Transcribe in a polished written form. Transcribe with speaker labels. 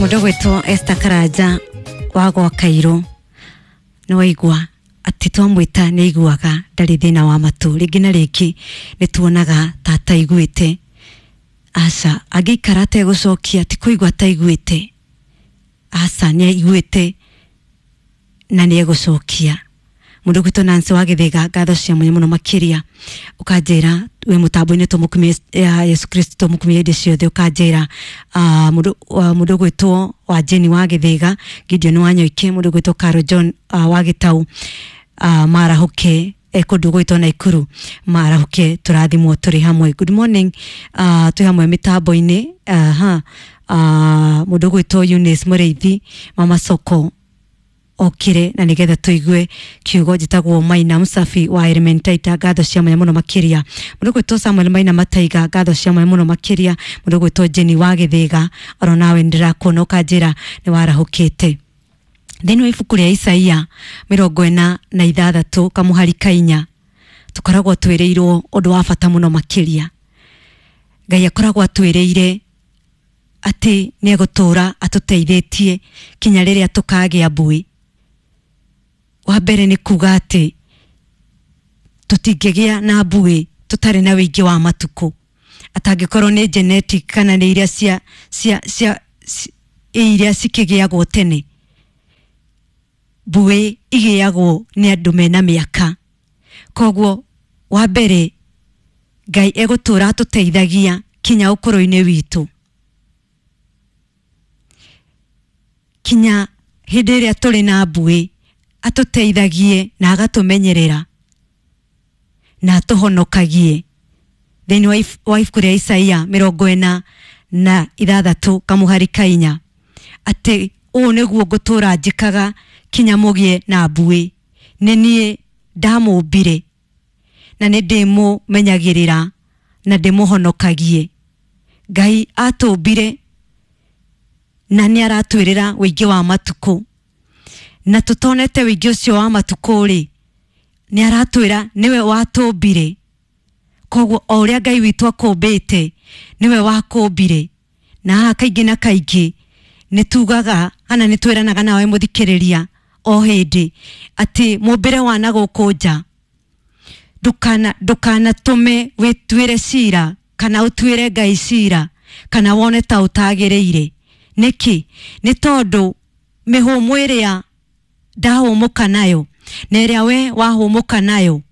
Speaker 1: Mundu gwitwo Esther Karanja wa gwa Kairũ, nĩ waigua atĩ twamwĩta nĩ aiguaga, ndarĩ thĩna wa matũ. Rĩngĩ na rĩngĩ nĩ tuonaga ta ataiguĩte. Aca, angĩikara ategũcokia ti kũigua ataiguĩte. Aca, nĩ aiguĩte na nĩ egũcokia. Mũndũ gwitũ Nancy wa Gĩthĩga, ngatho cia mwanya mũno makĩria. Ũkanjĩra wĩ mũtambo-inĩ, tũmũkumie ya Yesu Kristo, tũmũkumie hĩndĩ ciothe. Ũkanjĩra mũndũ gwĩtwo wa Jeni wa Gĩthĩga, Gideon wa Nyoike, mũndũ gwĩtwo Caro John wa Gĩtau, marahũke kũndũ gwĩtwo Naikuru, marahũke, tũrathimwo tũrĩ hamwe. Good morning, twĩ hamwe mĩtambo-inĩ. Aha, mũndũ gwĩtwo Eunice Mũrĩithi, mama soko okire na nigetha tuigue kiugo. Njitagwo Maina Musafi wa Elementaita, ngatho cia mwanya muno makiria. Mundu gwitwo Samuel Maina Mataiga, ngatho cia mwanya muno makiria. Mundu gwitwo Jenny wa Githiga, oro nawe ndirakuona, ukanjira ni warahukite. Thĩinĩ wa ibuku rĩa Isaia 46 kamuhari ka 4, tũkoragwo twĩrĩirwo ũndũ wa bata mũno makĩria. Ngai akoragwo atwĩrĩire atĩ nĩ egũtũũra atũteithĩtie kinya rĩrĩa tũkagĩa mbui. Wa mbere nĩ kuga atĩ tũtingĩgĩa na mbui tũtarĩ na wĩingĩ wa matukũ, atangĩkorwo nĩ genetic kana nĩ iria cia iria cikĩgĩagwo tene. Mbuĩ igĩagwo nĩ andũ mena mĩaka. Koguo wa mbere, Ngai egũtũra atũteithagia kinya ũkũrũ-inĩ witũ, kinya hĩndĩ ĩrĩa tũrĩ na mbuĩ, atũteithagie na agatũmenyerera na atũhonokagie. Thĩinĩ wa ibuku rĩa Isaia 46 kamuhari ka 4, atĩ ũũ nĩguo ngũtũra njĩkaga kinya mũgĩe na mbuĩ, nĩ niĩ ndamũmbire na nĩ ndĩmũmenyagĩrĩra na ndĩmũhonokagie. Ngai atũmbire na nĩ aratwĩrĩra wĩingĩ wa matukũ, na tũtonete wĩingĩ ũcio wa matukũ rĩ, nĩ aratwĩra nĩwe watũmbire. Koguo o ũrĩa Ngai witũ akũmbĩte, nĩwe wakũmbire. Na haha kaingĩ na kaingĩ nĩ tugaga kana nĩ twĩranaga nawe mũthikĩrĩria o hĩndĩ atĩ mũmbĩre wa na gũkũ nja ndũkanatũme wĩtuĩre cira kana ũtuĩre Ngai cira kana wone ta ũtagĩrĩire. Nĩkĩ? Nĩ tondũ mĩhũmũ ĩrĩa ndahũmũka nayo na ĩrĩa we wahũmũka nayo